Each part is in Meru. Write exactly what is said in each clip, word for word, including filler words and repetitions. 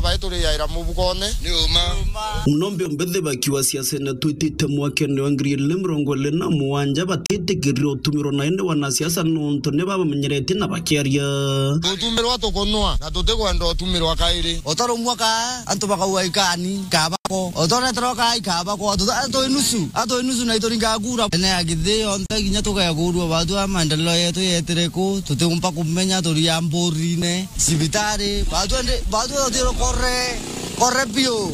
Ai turiaira mubukone. Ni uma. No mbe mbithi bakiwa siasene twitite mwakene wa ngiri ili mirongo ili na mugwanja batitikirirwe utumirwa na indi wanasiasa nontu ni babamenyeretie na bakiaria. Tutumirwa tukunwa na tutikwenda utumirwa kairi. Utarumwa ka antu bakauga ikani kabako. Utoreterwa ka ikabako. Atu, atu inusu. Atu inusu na ituringa kura. Ene ya githii yonthe kinya tugekurua batu a maendeleo yetu yetire ku. Tutiumba kumenya turia mburine. Cibitari, batu ndi, batu tutiro kore, kore biu.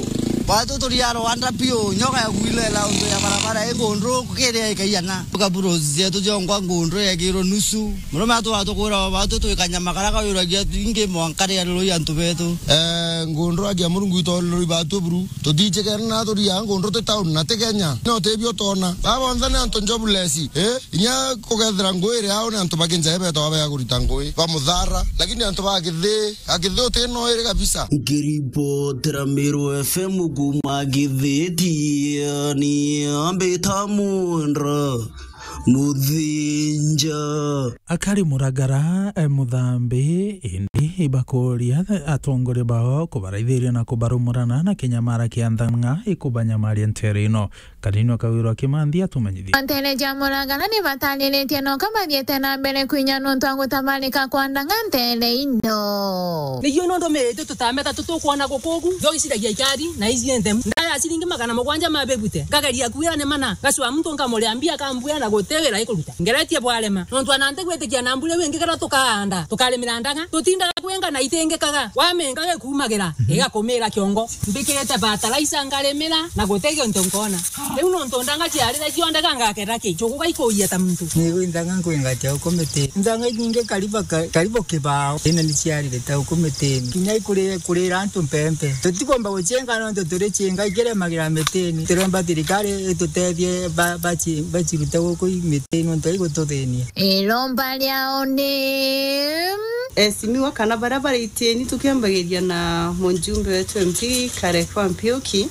Batu turia Rwanda biu, nyoka ya kuilela untu ya barabara i ngundru kiria ikaiana. Tuka bros zetu jongwa ngundru yekirwo nusu. Murume atu atukwira batu twikanya makara kawiragia ingi mwanka ria rurui antu betu. Eh, ngundru agia Murungu itolirwi batu buru. Tutichikena na turia ngundru ti town na ti Kenya. No tibio tona. Baba onthe ni antu jobless. Eh? Inya kugethira ngui iri au ni antu ba kinjai betagwa bega kurita ngui ba muthara, lakini antu ba githii, a githii uti no iri kabisa. Nkiripotera Meru F M kuma Githiti, ni ambita Mwendwa Muthinja. Akari Muragara, eh, Muthambi, indi ibakuria atongoria bao kubaraithiria na kubarumurana na kinyamara kia nthang'a ikubanyamaria ntere ino. Kaninwa Kawirwa Kimanthi atumenyithie. Ntere ja Muragara ni batariritie noka bathiite na mbere kwinya nontu wa gutabarika kwa ndang'a ntere ino. Niyo no ndumirite tutameta tutukwona gukugu, thogiciragia ikari na iji nthe. Ndaya ciringi magana mugwanja mabibute, ngageria kwira ni mana, gacua muntu nkamuria mbia akambwira na guti wira ikuruta. Ngeretie bwarema, nontu ana ntigwitikia na mbura iu ingi kara tukaanda, tukarimira ndang'a, tutindaga kwenga na itingikaga, wamenga gikumagira, igakumira kiongo. Mbikirite fertilizer ngarimira na guti gintu nkona. Riu nontu ndang'a ciarire cionthe gangakera ki? Njugu gaikuuria ta muntu. Ni ndang'a nkwenga ta uku miti. Ndang'a inyingi karibu ka-, karibu kibao. Ina ni ciarire ta uku mitini. Kinya ikuri-, kurira antu mpempe. Tutikomba gucienga nontu turi cienga ikiremagira mitini. Turomba thirikari itutethie ba-, baci-, bacirute guku i mitini nontu igututhinia. Iromba riao ni Esimiwa kana baria bari itieni, tukiambagiria na mujumbe wetu M P Kareko Ampiuki,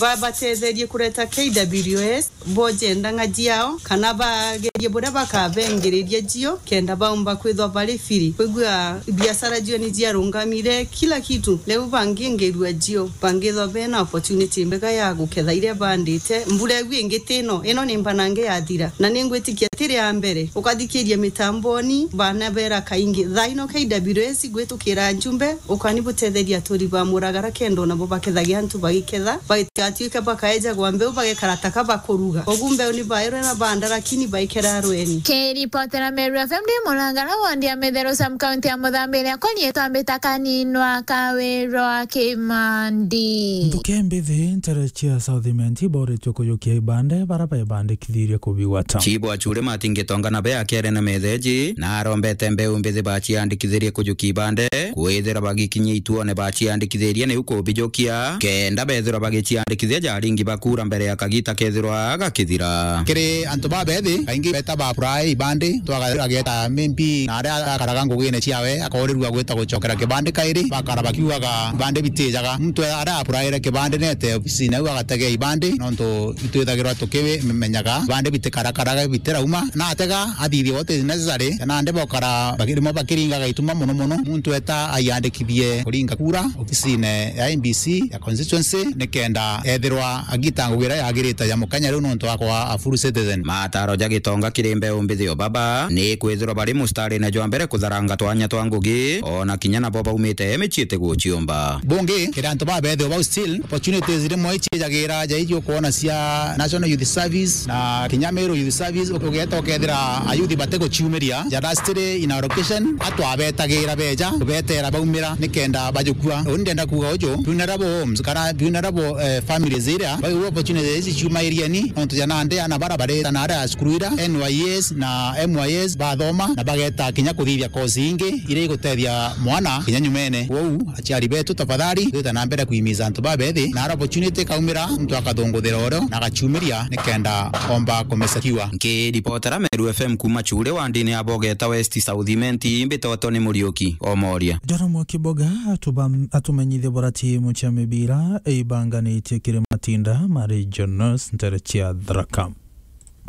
babatetherie kureta K W S, boje ndang'a jiao, kana bagerie buria bakabengiriria jio, kenda baumba kwithwa bari firi. Kwigua biashara jio ni jiarungamire, kila kitu. Riu bangingirua jio, bangithwa bena opportunity mbega ya guketha iria bandite. Mbura iu ingi tino, ino ni mbanange yathira, na ningwitikia tiri ya mbere. Ukathikiria mitamboni, bana bera kaingi. Thaa ino K W S igwitukira njumbe, ukani butetheria aturi ba Muragara kenda nabo bakethagia antu bagiketha, batigatuike bakaejagwa mbeu bagekara taka bakuruga. Ugu mbeu ni bairwe na banda, lakini baikera rweni. Kiripotera Meru F M ndi Muragara, wandi ya Mitheru, sub county ya Muthambi, riakwa rietwa Mbita Kaninwa Kawirwa Kimandi. Ntuke mbithi ntere cia South Imenti boretwe kujukia ibande bara bebandikithirie kubigwata. Chibu Achure Matingitonga na be akiaria na metheji, na arombete mbeu mbithi baciandikithirie kujukia ibande, kwithira bagikinyia ituone baciandikithirie niu kubijukia, kenda bethirwa bagiciandikithia jaringi bakura mbere ya kagita kethirwa gakithira. Kiri antu babethi, kaingi beta ba apply ibande, twagaeta maybe na aria akaraga ngugine ciawe, akoorirua gwita gucokera kibande kairi, bakara bakiugaga ibande bitijaga. Muntu aria applyire kibande nete obisine au agategea ibande, nontu itwithagirwa tukimenyaga ibande bitikarakaraga bitirauma, na atega athithie what is necessary, na nde bokara bakirimo bakiringaga ituma mono mono, muntu eta aiandikithie kuringa kura obisine ya M B C ya constituency, nikenda ethirwa agita ngugi iria yagirite ya mukenya riu nontu akwa a full citizen. Mataro ja Gitonga kiri mbeu mbithi o baba ni kwithirwa bari mustarine jwa mbere kutharanga twanya twa ngugi, ona kinya nabo baumite micii itiguciumba. Bungi, kiri antu babethio bau still, opportunities rimwe icijagira ja iji ukwona cia National Youth Service na kinya Meru Youth Service, ukugeta ukethira ayuthi batiguciumiria, ja lastly in allocation, atwabetagira beja, kubetera baumira, nikenda bajukua. Uni ndenda kuuga uju, vulnerable homes, kana vulnerable, eh, families iria, bau opportunities ici ciuma irieni, nontu ja nandi ana bara bareta na aria cukuru ira, N Y S na M Y S bathoma, na bageta kinya kuthithia course ingi, iria igutethia mwana kinya nyumene. Kwou, aciari betu, tafadhali, twite na mbere kuimiza antu babethi, na ara opportunity ikaumira, muntu akathunguthira urio na agaciumiria nikenda omba kumesakiwa. Nkiripotera Meru F M kuma Chure wandini ya Bogeta West South Imenti, mbitotwo ni Muriuki Omoria. Joram wa Kiboga atuba-, atumenyithie bora timu cia mibira ibanganitie kiri matinda ma regionals ntere cia Tharaka.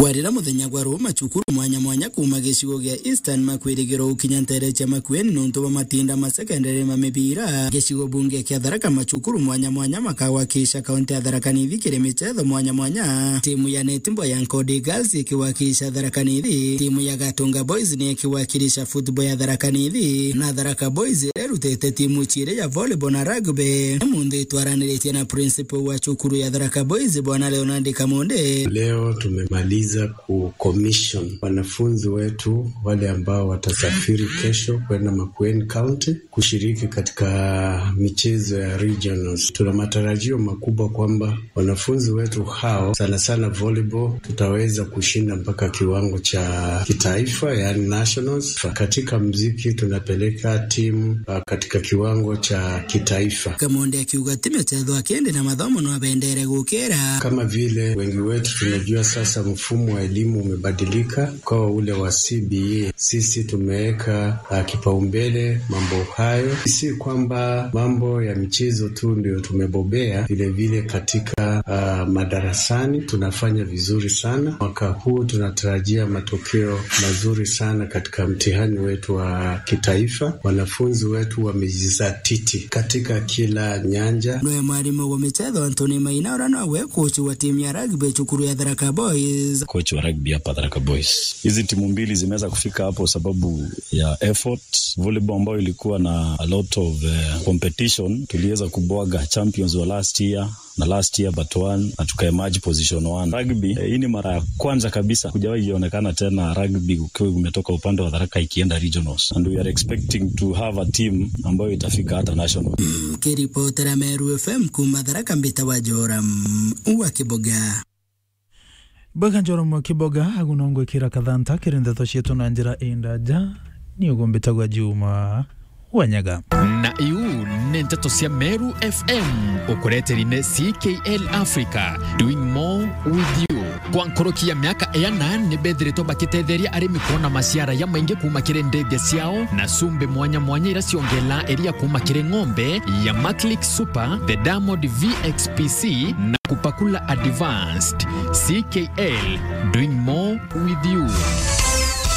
Kwarira muthenya gwa ruu, macukuru mwanya mwanya kuuma gicigo gia Eastern makwirigirwa gukinya nteere cia Makueni nontu bwa matinda ma secondary ma mibira. Gicigo bunge kia Tharaka, macukuru mwanya mwanya makawakilisha kaunti ya Tharaka Nithi kiri michetho mwanya mwanya. Timu ya netball ya Nkodi Girls ikiwakilisha Tharaka Nithi, timu ya Gatunga Boys ni ikiwakilisha football ya Tharaka Nithi, na Tharaka Boys irerutite timu ciiri ya volleyball na rugby. Ni muntu itwaraniritie na principal wa cukuru ya Tharaka Boys, Bwana Leonard Kamonde. Leo tumemaliza ku commission wanafunzi wetu wale ambao watasafiri kesho kwenda Makueni County kushiriki katika michezo ya regionals. Tuna matarajio makubwa kwamba wanafunzi wetu hao, sana sana volleyball, tutaweza kushinda mpaka kiwango cha kitaifa, yaani nationals. Katika mziki tunapeleka timu, ah, katika kiwango cha kitaifa. Kamonde akiuga ti michetho akiende na mathomo no abendere gukira. Kama vile wengi wetu tunajua sasa, mfumo wa elimu umebadilika ukawa ule wa C B E. Sisi tumeweka, ah, kipaumbele mambo hayo. Si kwamba mambo ya michezo tu ndio tumebobea, vile vile katika, ah, madarasani tunafanya vizuri sana. Mwaka huu tunatarajia matokeo mazuri sana katika mtihani wetu wa kitaifa. Wanafunzi wetu wamejizatiti katika kila nyanja. Noe mwarimu wa michetho Anthony Maina, uria nowe coach wa timu ya rugby cukuru ya Tharaka Boys. Coach wa rugby hapa Tharaka Boys. Hizi timu mbili zimeweza kufika hapo sababu ya effort. Volleyball ambayo ilikuwa na a lot of, eh, competition, tuliweza kubwaga champions wa last year na last year but one, na tukaemerge position one. Rugby, eh, hii ni mara ya kwanza kabisa, kujawahi ionekana tena rugby ukiwa umetoka upande wa Tharaka ikienda regionals, and we are expecting to have a team ambayo itafika hata national. Kiripotera Meru F M kuuma Tharaka, mbita wa Joram wa Kiboga. Bwega Joram wa Kiboga, agu no ngwikira kathanta kiri ndeto cietu na njira indaja. Ni ugumbitagwa Juma Wanyaga. Na iu ni nteto cia Meru F M, ukureteri ni C K L Africa, doing more with you. Kwa nkoroki ya miaka iana, ni bethiritwe bakitetheria arimi kwona maciara ya maingi kuuma kiri ndithia ciao, na cumbi mwanya mwanya ira ciongela iria kuuma kiri ng'ombe ya Maclick Super, the Diamond V X P C, na Kupakula Advanced. C K L, doing more with you.